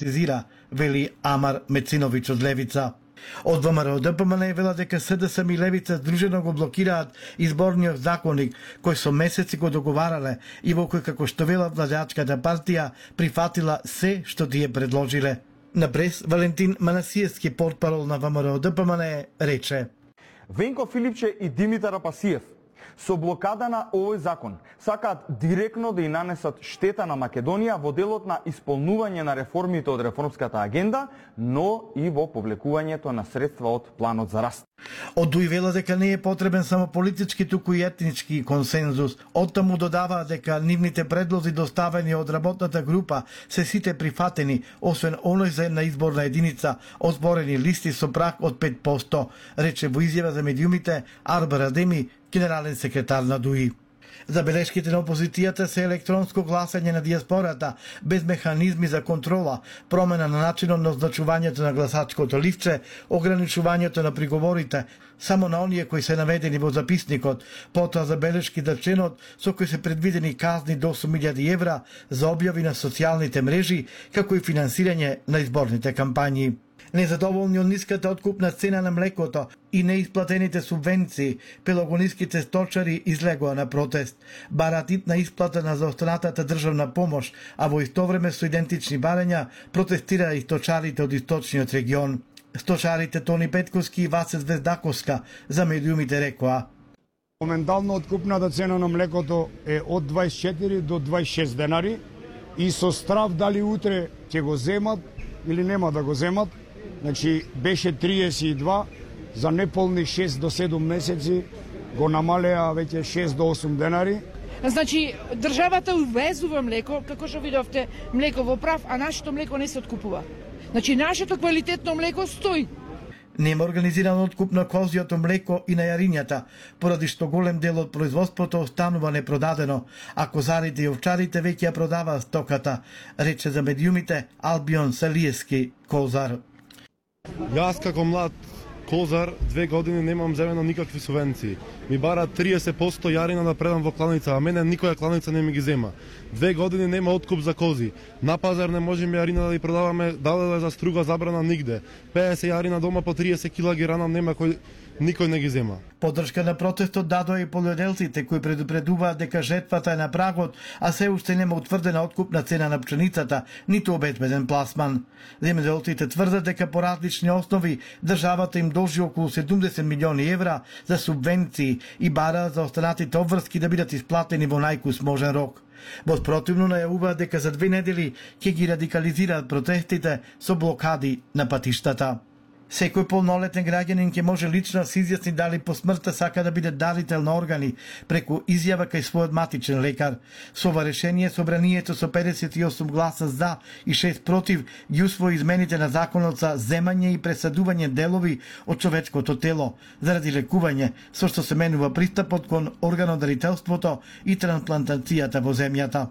стигматизира, вели Амар Мециновиќ од Левица. Од ВМРО ДПМН вела дека СДСМ и Левица здружено го блокираат изборниот законник кој со месеци го договарале и во кој, како што вела владеачката партија, прифатила се што тие предложиле. На прес Валентин Манасиевски, портпарол на ВМРО ДПМН, рече: Венко Филипче и Димитар Апасиев со блокада на овој закон сакаат директно да и нанесат штета на Македонија во делот на исполнување на реформите од реформската агенда, но и во повлекувањето на средства од планот за раст. Од Дуј вела дека не е потребен само политички, туку и етнички консензус. Оттаму додава дека нивните предлози доставени од работната група се сите прифатени, освен оној за една изборна единица, озборени листи со праг од 5%, рече во изјава за медиумите Арбар Адеми, генерален секретар на ДУИ. Забелешките на опозицијата се електронско гласање на диаспората, без механизми за контрола, промена на начинот на означувањето на гласачкото ливче, ограничувањето на приговорите само на оние кои се наведени во записникот, потоа забелешки за членот со кои се предвидени казни до 8.000 евра за објави на социјалните мрежи, како и финансирање на изборните кампањи. Незадоволни од ниската откупна цена на млекото и неисплатените субвенции, пелагониските сточари излегоа на протест. Бараат итна исплата на заостанатата државна помош, а во исто време со идентични барања протестираа и сточарите од источниот регион. Сточарите Тони Петковски и Васе Звездаковска за медиумите рекоа: Моментално откупната цена на млекото е од 24 до 26 денари и со страв дали утре ќе го земат или нема да го земат. Значи беше 32, за неполни 6 до 7 месеци го намалеа веќе 6 до 8 денари. Значи државата увезува млеко, како што видовте, млеко во прав, а нашето млеко не се откупува. Значи нашето квалитетно млеко стои. Нема организиран откуп на козјото млеко и на јаринјата, поради што голем дел од производството останува непродадено, а козарите и овчарите веќе ја продаваат стоката, рече за медиумите Албион Салиевски, козар. Јас како млад козар 2 години немам земено никакви субвенции. Ми бара 30% јарина да предам во кланица, а мене никоја кланица не ми ги зема. 2 години нема откуп за кози. На пазар не можеме јарина да ја продаваме, даде за струга забрана нигде. 50 јарина дома по 30 кила ги ранам, нема никој не ги зема. Поддршка на протестот дадоа и полјоделците кои предупредуваат дека жетвата е на прагот, а се уште нема утврдена откупна цена на пшеницата, ниту обезбеден пласман. Земјоделците тврдат дека по различни основи државата им должи околу 70 милиони евра за субвенции и бараат за останатите обврски да бидат исплатени во најкус можен рок. Во спротивно најавуваат дека за 2 недели ќе ги радикализираат протестите со блокади на патиштата. Секој полнолетен граѓанин ќе може лично се изјасни дали по смртта сака да биде дарител на органи преку изјава кај својот матичен лекар. Со ова решение собранието со 58 гласа за и 6 против ги усвои измените на законот за земање и пресадување делови од човечкото тело заради лекување, со што се менува пристапот кон органодарителството и трансплантацијата во земјата.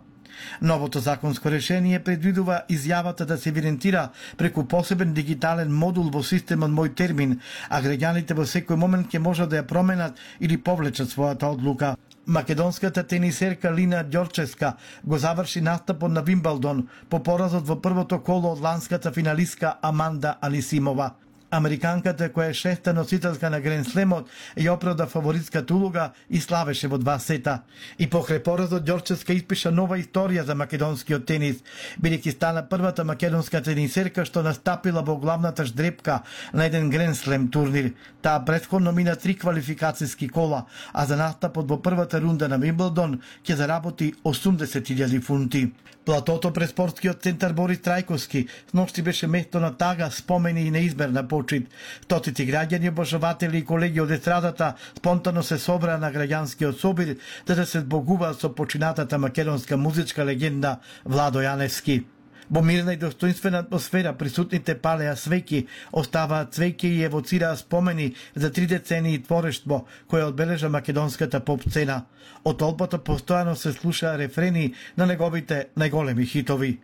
Новото законско решение предвидува изјавата да се евидентира преку посебен дигитален модул во системот Мој термин, а граѓаните во секој момент ќе можат да ја променат или повлечат својата одлука. Македонската тенисерка Лина Ѓорчевска го заврши настапот на Вимбелдон по поразот во првото коло од ланската финалистка Аманда Анисимова. Американката, која е 6-та носителка на Грен Слемот, ја оправда фаворитската улога и славеше во 2 сета. И покрај поразот Ѓорчевска испиша нова историја за македонскиот тенис, бидејќи стана првата македонска тенисерка што настапила во главната ждрепка на еден Грен Слем турнир. Таа претходно мина 3 квалификацијски кола, а за настапот во првата рунда на Вимбелдон ќе заработи 80.000 фунти. Платото пред спортскиот центар Борис Трајковски сношти беше место на тага, спомени и неизмерна почит. Стотици граѓани, обожаватели и колеги од естрадата спонтано се собраа на граѓанскиот собир да се збогуваат со починатата македонска музичка легенда Владо Јаневски. Во мирна и достоинствена атмосфера присутните палеа свеќи, оставаат свеќи и евоцираа спомени за 3 децении творештво која одбележа македонската поп сцена. Од толпата постојано се слушаа рефрени на неговите најголеми хитови.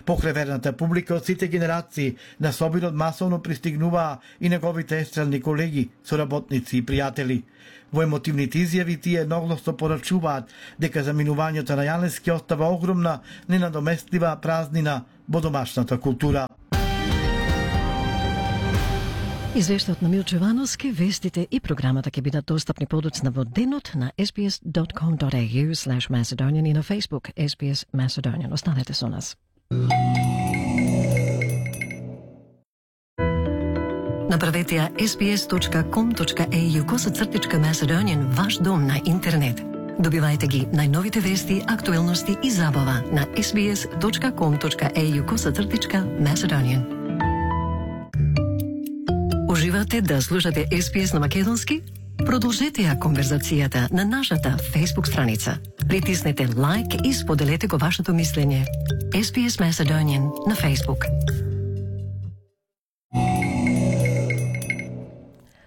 Покреверната публика од сите генерации на собирот масовно пристигнуваа и неговите естрадни колеги, соработници и пријатели. Во емотивните изјави тие едногласно порачуваат дека заминувањето на Јаневски остава огромна, ненадоместлива празнина во домашната култура. Извештаот на Милче Вановски, вестите и програмата ќе бидат достапни подоцна во денот на sbs.com.au/Macedonian и на Facebook SBS Macedonian. Останете со нас. Направете ја sbs.com.au/Macedonian ваш дом на интернет. Добивајте ги најновите вести, актуелности и забава на sbs.com.au/Macedonian. Уживате да слушате SBS на македонски? Продолжете ја конверзацијата на нашата Facebook страница. Притиснете лайк и споделете го вашето мислење. SBS Macedonian на Facebook.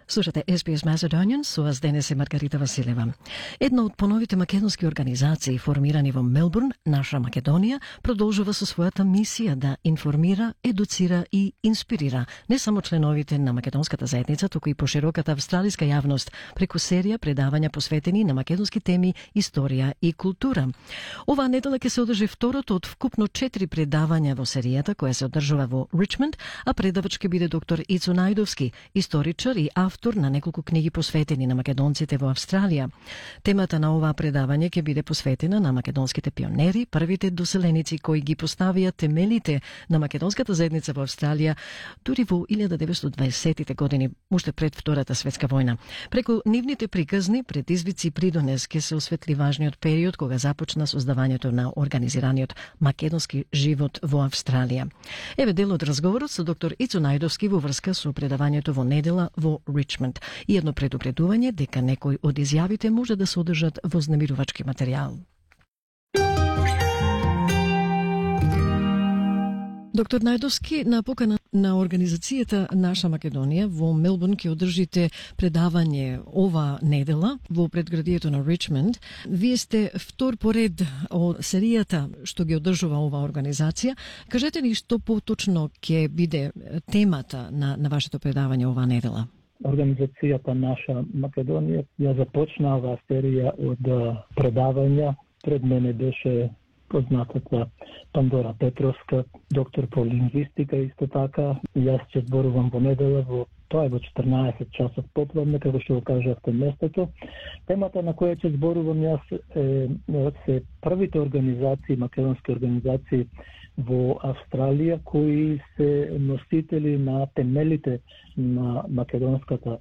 Слушате SBS Macedonian, со вас денес е Маргарита Василева. Една од поновите македонски организации формирани во Мелбурн, Наша Македонија, продолжува со својата мисија да информира, едуцира и инспирира не само членовите на македонската заедница, туку и пошироката австралиска јавност преку серија предавања посветени на македонски теми, историја и култура. Оваа недела ќе се одржи второто од вкупно 4 предавања во серијата која се одржува во Ричмонд, а предавач ќе биде доктор Ицо Најдовски, историчар и автор на неколку книги посветени на македонците во Австралија. Темата на оваа предавање ќе биде посветена на македонските пионери, првите доселеници кои ги поставија темелите на македонската заедница во Австралија дури во 1920-тите години, уште пред Втората светска војна. Преку нивните приказни, предизвици и придонес ќе се осветли важниот период кога започна создавањето на организираниот македонски живот во Австралија. Еве дел од разговорот со доктор Ицо Најдовски во врска со предавањето во недела во Ричмонд и едно предупредување дека некои од изјавите може да содржат вознемирувачки материјал. Доктор Најдовски, на покана на организацијата Наша Македонија во Мелбурн ќе одржите предавање ова недела во предградието на Ричмонд. Вие сте втор поред од серијата што ги одржува оваа организација. Кажете ни што поточно ќе биде темата на вашето предавање оваа недела? Организацијата Наша Македонија ја започна оваа серија од предавања. Пред мене беше познатата Пандора Петровска, доктор по лингвистика исто така. Јас ќе зборувам во недела тоа е во 14 часот попладне, како што го кажавте местото. Темата на која ќе зборувам јас се првите организации, македонски организации во Австралија кои се носители на темелите на македонската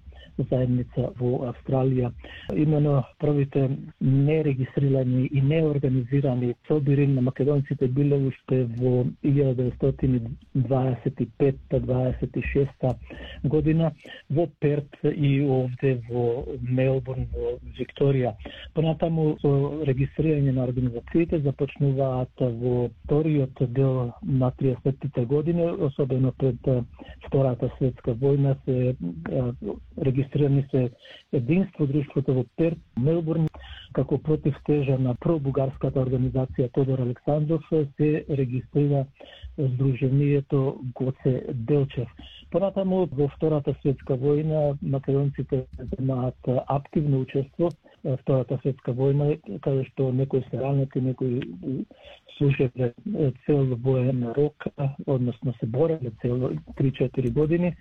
заедница во Австралија. Имено првите нерегистрирани и неорганизирани собири на македонците биле уште во 1925-26 година во Перт и овде во Мелбурн, во Викторија. Понатаму со регистрирање на организациите започнуваат во вториот дел на 30-тите години, особено пред Втората светска војна се регистрирани се единство друштвото во Перт, Мелбурн, како противтежа на пробугарската организација Тодор Александров се регистрира Сдруженијето Гоце Делчев. Понатаму во Втората светска војна македонците земаат активно учество. Втората светска војна, каде што некои се ранети, некои служеле цел воен рок, односно се бореле цел 3-4 години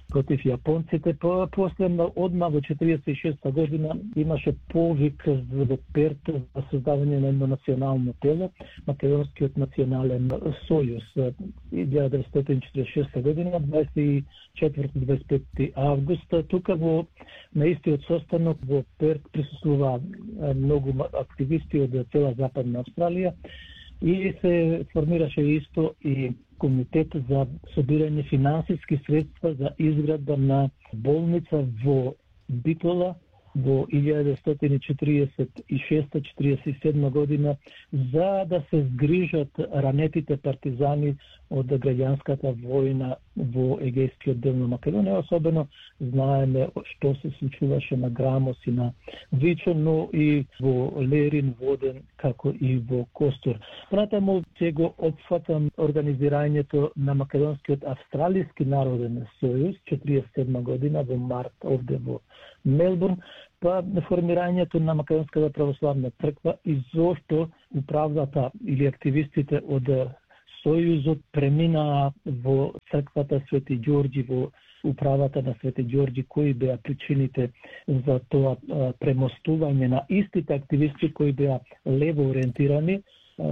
против јапонците. После одма во 46 година имаше повик во Перт за создавање на едно национално тело, Македонскиот национален сојуз. 1946 година, 24-25 август, тука на истиот состанок во Перт присуствува многу активисти од цела Западна Австралија и се формираше исто и комитет за собирање финансиски средства за изградба на болница во Битола во 1946-47 година за да се згрижат ранетите партизани од граѓанската војна во Егејскиот дел на Македонија. Особено знаеме што се случуваше на Грамос и на Вичо, но и во Лерин, Воден, како и во Костур. Понатаму ќе го опфатам организирањето на Македонскиот австралиски народен сојуз 47 година во март овде во Мелбурн, па формирањето на Македонската православна црква и зошто управата или активистите од Сојузот премина во црквата Свети Ѓорѓи, во управата на Свети Ѓорѓи, кои беа причините за тоа премостување на истите активисти кои беа лево ориентирани,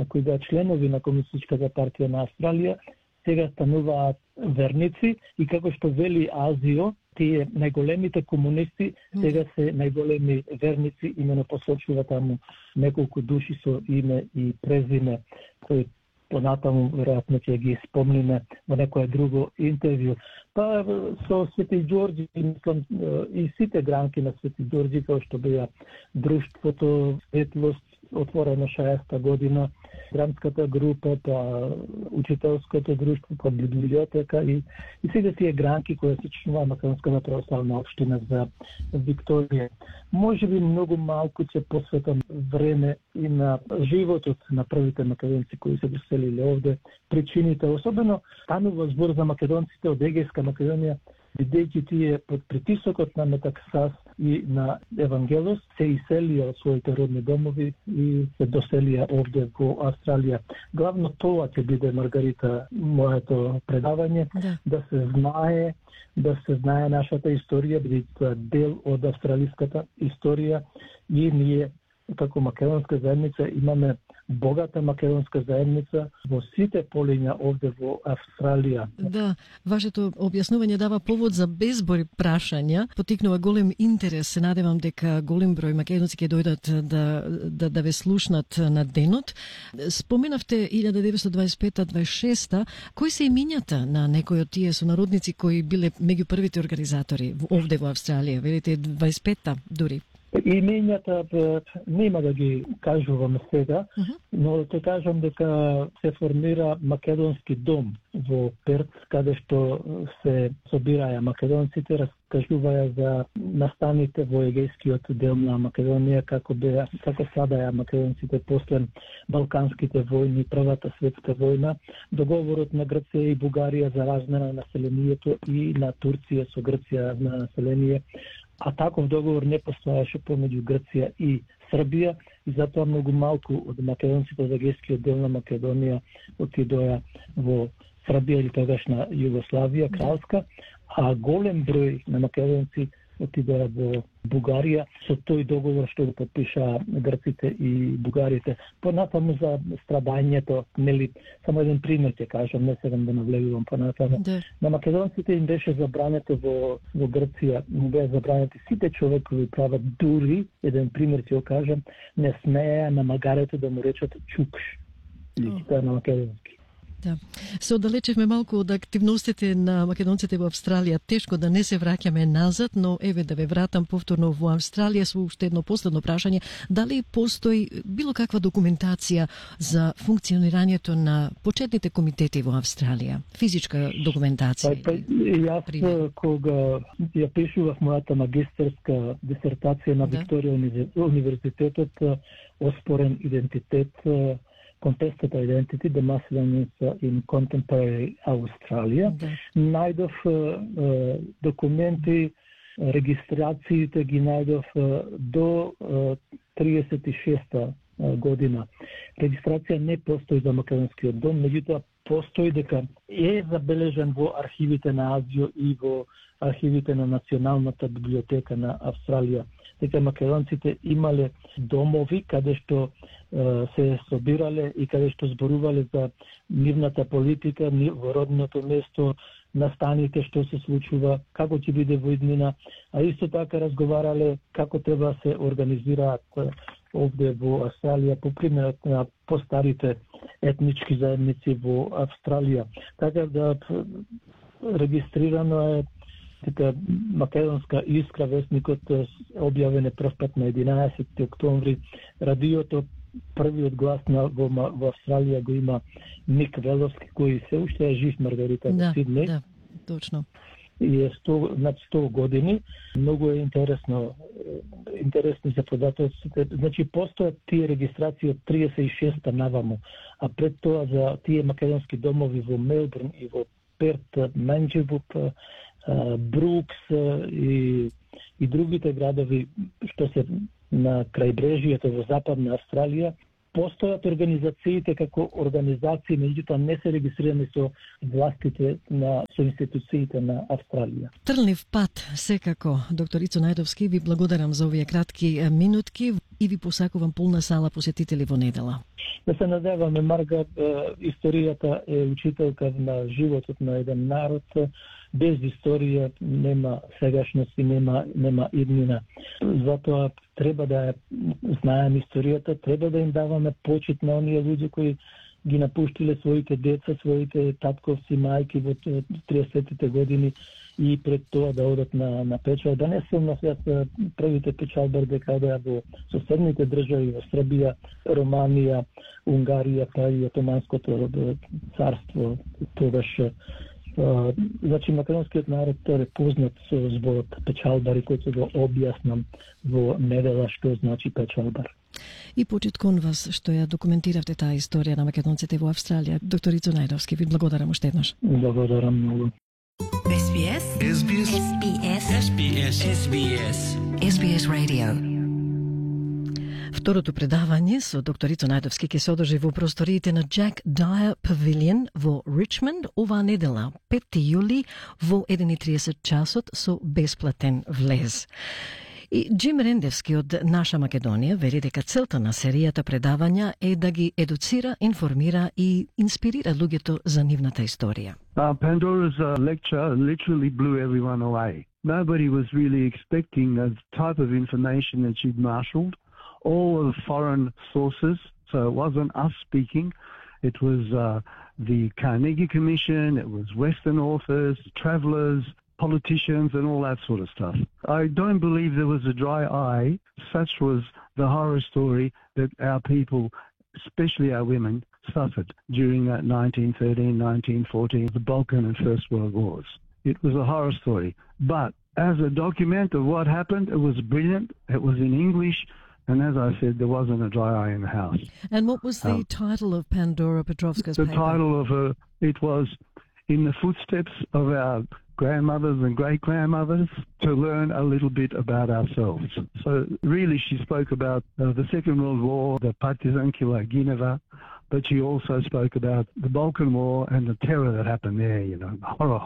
кои беа членови на Комунистичката партија на Австралија, сега стануваат верници и како што вели Азио, тие најголемите комунисти сега се најголеми верници, имено посочува таму неколку души со име и презиме, кои понатаму веројатно ќе ги спомниме во некое друго интервју. Па со Свети Ѓорѓи, мислам, и сите гранки на Свети Ѓорѓи, како што беа Друштвото Светлост, отворено 60-та година, гранската група, па учителското друштво, па библиотека и сите тие гранки кои се членува Македонската православна општина за Викторија. Може би многу малку ќе посветам време и на животот на првите македонци кои се доселиле овде, причините, особено станува збор за македонците од Егејска Македонија, бидејќи тие под притисокот на Метаксас и на Евангелос се иселија од своите родни домови и се доселија овде во Австралија. Главно тоа ќе биде, Маргарита, моето предавање, да се знае нашата историја, бидејќи тоа е дел од австралиската историја и ние како македонска заедница имаме богата македонска заедница во сите полиња овде во Австралија. Да, вашето објаснување дава повод за безброј прашања, потикнува голем интерес. Се надевам дека голем број македонци ќе дојдат да ве слушнат на денот. Споменавте 1925-26, кои се имињата на некои од тие сонародници кои биле меѓу првите организатори овде во Австралија? Велите 25-та дури. Имењата нема да ги кажувам сега, но те кажам дека се формира македонски дом во Перт, каде што се собираја македонците, раскажуваја за настаните во егејскиот дел на Македонија, како садаја македонците после Балканските војни, Првата светска војна, договорот на Грција и Бугарија за размена на населението и на Турција со Грција размена на население, а таков договор не постоеше помеѓу Грција и Србија и затоа многу малку од македонците од егејскиот дел на Македонија отидоа во Србија или тогашна Југославија кралска, а голем број на македонци отидоа во Бугарија со тој договор што го подпишаа грците и бугарите. Понатаму за страдањето, нели, само еден пример ќе кажам, не сега да навлегувам понатаму. На македонците им беше забрането во Грција, му беа забранети сите човекови права, дури, еден пример ќе го кажам, не смееа на магарето да му речат чукш, или тоа на македонски. Да. Се оддалечевме малку од активностите на македонците во Австралија. Тешко да не се враќаме назад, но еве да ве вратам повторно во Австралија со уште едно последно прашање. Дали постои било каква документација за функционирањето на почетните комитети во Австралија? Физичка документација? Јас кога ја пишував мојата магистерска дисертација на Викторија универзитетот, оспорен идентитет, Contested Identity, the Macedonians in Contemporary Australia. Најдов документи, регистрациите ги најдов до 36-та година. Регистрација не постои за Македонскиот дом, меѓутоа постои дека е забележен во архивите на Азио и во архивите на Националната библиотека на Австралија, дека македонците имале домови каде што се собирале и каде што зборувале за нивната политика во родното место, настаните што се случува, како ќе биде во иднина, а исто така разговарале како треба се организираат овде во Австралија по примерот на постарите етнички заедници во Австралија. Така да регистрирано е дека Македонска искра, весникот објавен е прв пат на 11 октомври. Радиото првиот глас во Австралија го има Ник Веловски, кој се уште е жив, Маргарита, во Сиднеј. Да, точно. И е над 100 години. Многу е интересни за податоците. Значи, постојат тие регистрации од 36-та наваму, а пред тоа за тие македонски домови во Мелбурн и во Перт, Манџибук, Брукс и другите градови што се на крајбрежието во Западна Австралија, Постојат организациите како организации, меѓутоа не се регистрирани со властите со институциите на Австралија. Трнлив пат, секако. Доктор Ицо Најдовски, ви благодарам за овие кратки минутки и ви посакувам полна сала посетители во недела. Да се надеваме, Марга, историјата е учителка на животот на еден народ. Без историја нема сегашност и нема иднина. Затоа треба да ја знаеме историјата, треба да им даваме почит на оние луѓе кои ги напуштиле своите деца, своите татковци, мајки во 30-тите години и пред тоа да одат на печал. Да не се носат првите печалбар дека во соседните држави, во Србија, Романија, Унгарија, па и Отоманското царство, тогаш. Значи, македонскиот народ е познат со зборот печалбари, кој го објаснам во недела што значи печалбар. И почит кон вас што ја документиравте таа историја на македонците во Австралија. Доктор Ицо Најдовски, ви благодарам уште еднаш. Благодарам многу. SBS SBS SBS SBS SBS SBS Radio. Второто предавање со доктор Ицо Најдовски ќе се одржи во просториите на Jack Dyer Pavilion во Ричмонд оваа недела, 5 јули во 1:30 часот со бесплатен влез. И Джим Рендевски од Наша Македонија вели дека целта на серијата предавања е да ги едуцира, информира и инспирира луѓето за нивната историја. Pandora's lecture literally blew everyone away. Nobody was really expecting the type of information that she'd marshalled. All of foreign sources, so it wasn't us speaking. It was the Carnegie Commission, it was Western authors, travellers, politicians and all that sort of stuff. I don't believe there was a dry eye. Such was the horror story that our people, especially our women, suffered during that 1913, 1914, the Balkan and First World Wars. It was a horror story. But as a document of what happened, it was brilliant. It was in English. And as I said, there wasn't a dry eye in the house. And what was the title of Pandora Petrovska's paper? The title of it was In the Footsteps of Our Grandmothers and Great-Grandmothers, to learn a little bit about ourselves. So really she spoke about the Second World War, the Partizan Killer Gineva, but she also spoke about the Balkan War and the terror that happened there, you know,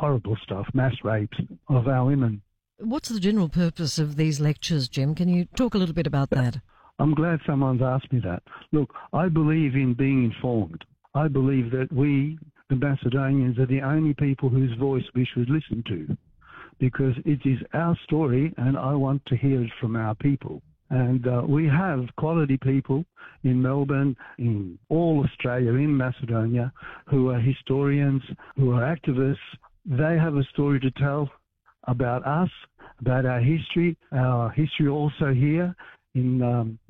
horrible stuff, mass rapes of our women. What's the general purpose of these lectures, Jim? Can you talk a little bit about that? I'm glad someone's asked me that. Look, I believe in being informed. I believe that we, the Macedonians, are the only people whose voice we should listen to, because it is our story and I want to hear it from our people. And we have quality people in Melbourne, in all Australia, in Macedonia, who are historians, who are activists. They have a story to tell about us, about our history also here in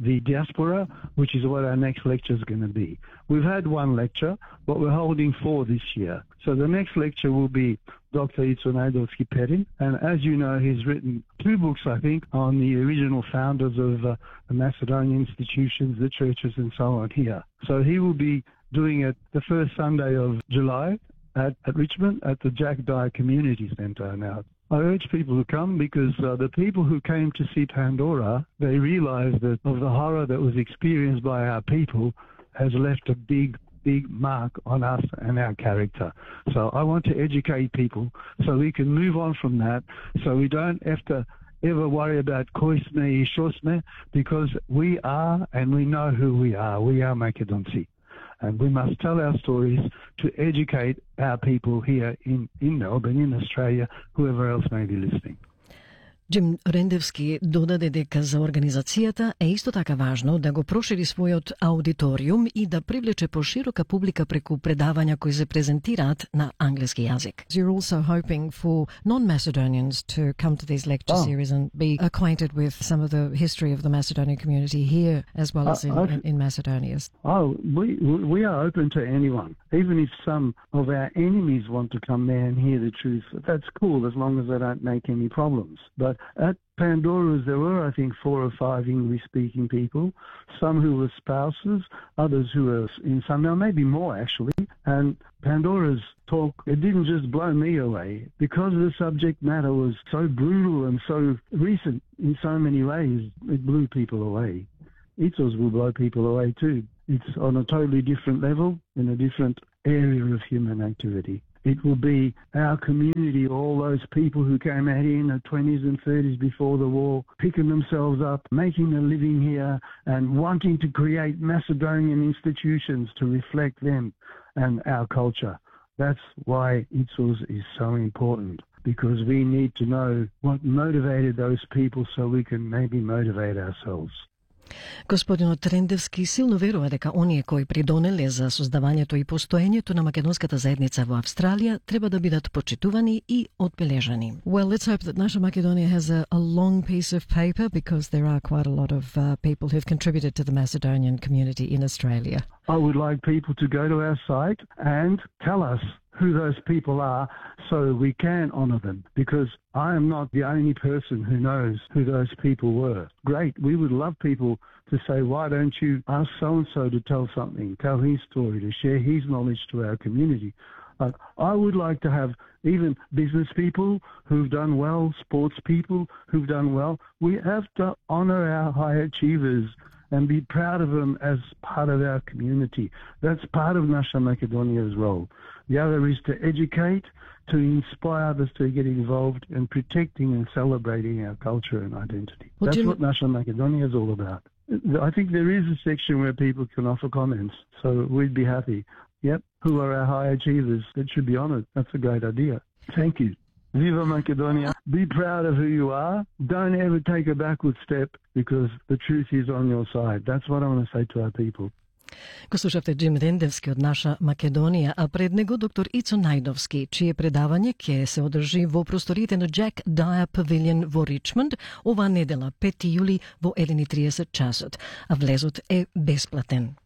the diaspora, which is what our next lecture is going to be. We've had one lecture, but we're holding 4 this year. So the next lecture will be Dr. Ицо Најдовски Перин, and as you know, he's written 2 books, I think, on the original founders of the Macedonian institutions, the churches, and so on here. So he will be doing it the first Sunday of July at Richmond at the Jack Dyer Community Centre. Now, I urge people to come because the people who came to see Pandora, they realized that of the horror that was experienced by our people has left a big mark on us and our character. So I want to educate people so we can move on from that, so we don't have to ever worry about koisme и shosme, because we are and we know who we are. We are Makedonci. And we must tell our stories to educate our people here in Melbourne, in Australia, whoever else may be listening. Джим Рендевски додаде дека за организацијата е исто така важно да го прошири својот аудиториум и да привлече поширока публика преку предавања кои се презентираат на англиски јазик. You're also hoping for non-Macedonians to come to these lecture series and be acquainted with some of the history of the Macedonian community here as well as in Macedonia. We are open to anyone. Even if some of our enemies want to come there and hear the truth, that's cool as long as they don't make any problems. But at Pandora's, there were, I think, 4 or 5 English-speaking people, some who were spouses, others who were in some, now maybe more actually. And Pandora's talk, it didn't just blow me away, because the subject matter was so brutal and so recent in so many ways, it blew people away. Itzos will blow people away too. It's on a totally different level, in a different area of human activity. It will be our community, all those people who came out here in the 20s and 30s before the war, picking themselves up, making a living here, and wanting to create Macedonian institutions to reflect them and our culture. That's why ITSOS is so important, because we need to know what motivated those people so we can maybe motivate ourselves. Господинот Трендевски силно верува дека оние кои придонеле за создавањето и постоењето на македонската заедница во Австралија треба да бидат почитувани и одбележани. Well, let's hope that Naša Makedonia has a long piece of paper, because there are quite a lot of people who've contributed to the Macedonian community in Australia. I would like people to go to our site and tell us who those people are so we can honour them, because I am not the only person who knows who those people were. Great, we would love people to say, why don't you ask so-and-so to tell something, tell his story, to share his knowledge to our community. I would like to have even business people who've done well, sports people who've done well. We have to honour our high achievers and be proud of them as part of our community. That's part of Naša Makedonia's role. The other is to educate, to inspire others to get involved in protecting and celebrating our culture and identity. That's what Naša Makedonia is all about. I think there is a section where people can offer comments, so we'd be happy. Yep, who are our high achievers that should be honoured? That's a great idea. Thank you. Viva Macedonia. Be proud of who you are. Don't ever take a backward step, because the truth is on your side. That's what I want to say to our people. Го слушавте Джим Рендевски од Наша Македонија, а пред него доктор Ицо Најдовски, чие предавање ќе се одржи во просториите на Jack Dyer Pavilion во Ричмонд оваа недела, 5 јули во 1:30 часот, а влезот е бесплатен.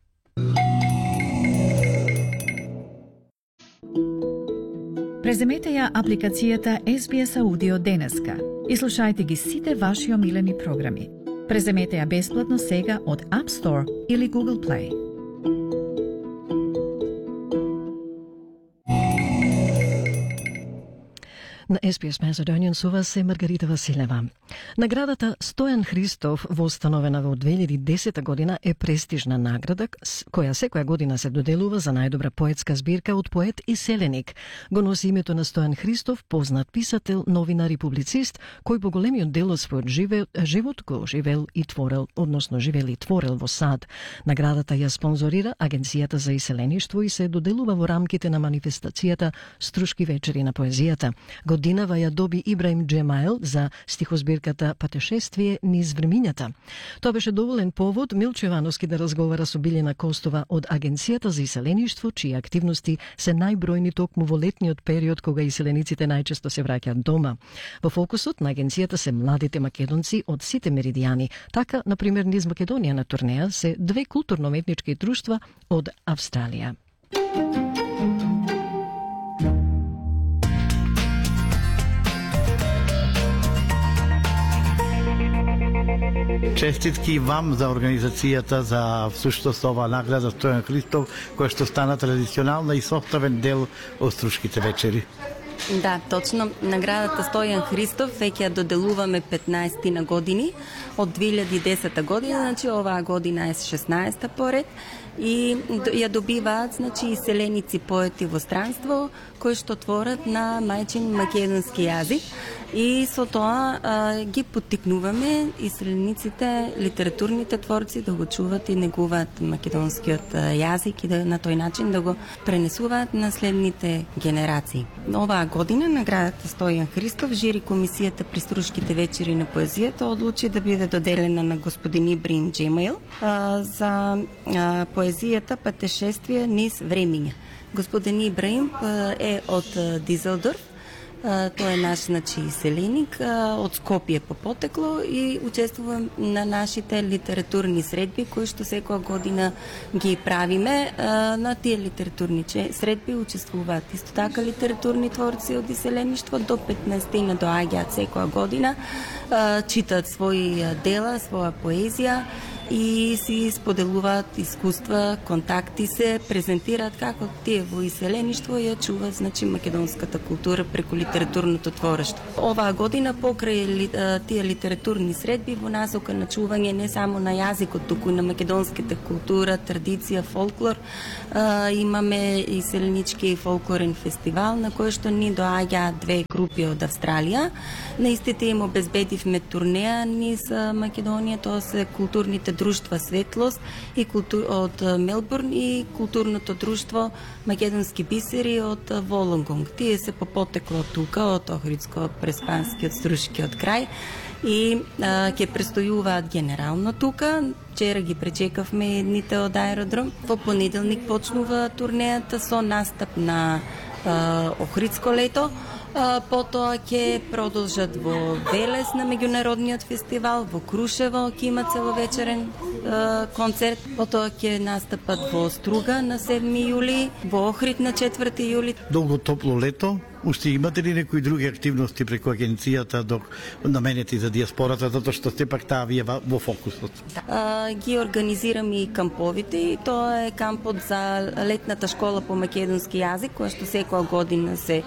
Преземете ја апликацијата SBS Audio денеска и слушајте ги сите ваши омилени програми. Преземете ја бесплатно сега од App Store или Google Play. На SBS Macedonian со вас е Маргарита Василева. Наградата Стојан Христов, воустановена во 2010 година, е престижна награда која секоја година се доделува за најдобра поетска збирка од поет и селеник. Го носи името на Стојан Христов, познат писател, новинар и публицист, кој по големиот дел од својот живот го живел и творел во САД. Наградата ја спонзорира Агенцијата за иселеништво и се доделува во рамките на манифестацијата Струшки вечери на поезијата. Годинава ја доби Ибраим Джемайл за стихозбирката Патешествие низ времињата. Тоа беше доволен повод Милчо Ивановски да разговара со Билјана Костова од Агенцијата за иселеништво, чии активности се најбројни токму во летниот период кога иселениците најчесто се враќаат дома. Во фокусот на агенцијата се младите македонци од сите меридијани. Така, например, низ Македонија на турнеја се 2 културно-уметнички друштва од Австралија. Честитки вам за организацијата за всушност оваа награда Стојан Христов, која што стана традиционална и составен дел од Струшките вечери. Да, точно. Наградата Стојан Христов веќе ја доделуваме 15 на години од 2010 година, значи оваа година е 16-та поред и ја добиваат, значи, иселеници поети во странство кои што творат на мајчин македонски јазик и со тоа ги поттикнуваме иселениците, литературните творци да го чуват и негуваат македонскиот јазик и да на тој начин да го пренесуваат на следните генерации. Оваа година наградата Стојан Христов, жири комисијата при Струшките вечери на поезијата одлучи да биде доделена на господин Ибраим Джемайл за поезијата Патешествие низ времиња. Господин Ибраим е од Дизелдорф. Тој е наш, значи, селеник од Скопје по потекло и учествува на нашите литературни средби кои што секоја година ги правиме. На тие литературни средби учествуваат исто така литературни творци од иселеништво, до 15 доаѓаат секоја година, читаат своји дела, своја поезија и си споделуваат искуства, контакти се презентираат како тие во иселеништво ја чуваат, значи, македонската култура преку литературното творештво. Оваа година покрај тие литературни средби во насока на чување не само на јазикот, туку и на македонската култура, традиција, фолклор, имаме иселенички фолклорен фестивал на кој што ни доаѓаат две групи од Австралија. На истите им обезбедивме турнеа низ Македонија, тоа се културните друштва Светлост и од Мелбурн и културното друштво Македонски бисери од Волонгонг. Тие се по потекло тука од Охридско-Преспанскиот струшкиот крај и ќе престојуваат генерално тука. Вчера ги пречекавме едните од аеродром. Во понеделник почнува турнејата со настап на Охридско лето. Потоа ќе продолжат во Велес на меѓународниот фестивал, во Крушево ќе има целовечерен концерт, потоа ќе настапат во Струга на 7 јули, во Охрид на 4 јули. Долго топло лето. Уште имате ли некои други активности преку агенцијата наменети за диаспората, затоа што сепак таа ви е во фокусот? Ги организираме и камповите, и тоа е кампот за летната школа по македонски јазик, која што секоја година се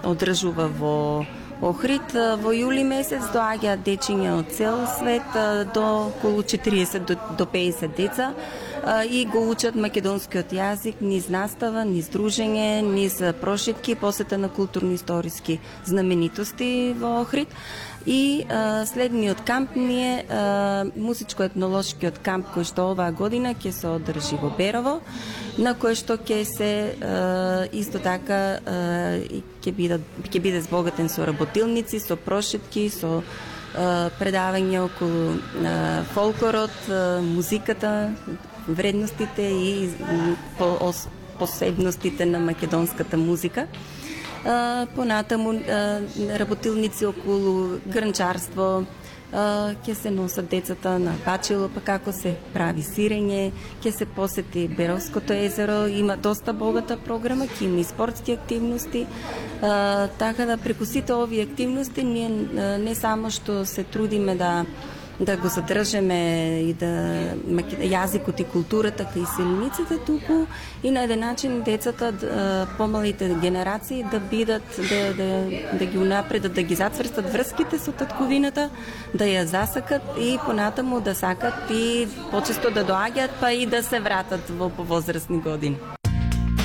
одржува во Охрид. Во јули месец доаѓаат дечиња од цел свет, до околу 40 до 50 деца, и го учат македонскиот јазик низ настава, низ дружење, низ прошетки, посета на културно-историски знаменитости во Охрид. И следниот камп ни е музичко-етнолошкиот камп, кој што оваа година ќе се одржи во Берово, на кој што ќе се исто така ќе биде збогатен со работилници, со прошетки, со предавања околу фолклорот, музиката, вредностите и посебностите на македонската музика. Понатаму работилници околу грнчарство, ќе се носат децата на бачило, па како се прави сирење, ќе се посети Беровското езеро, има доста богата програма, ќе има и спортски активности, така да преку сите овие активности ние не само што се трудиме да го задржеме и јазикот и културата кај иселениците, туку и на еден начин децата, помалите генерации да бидат, да ги унапредат, да ги затврстат врските со татковината, да ја засакат и понатаму да сакат и почесто да доаѓаат, па и да се вратат во повозрастни години.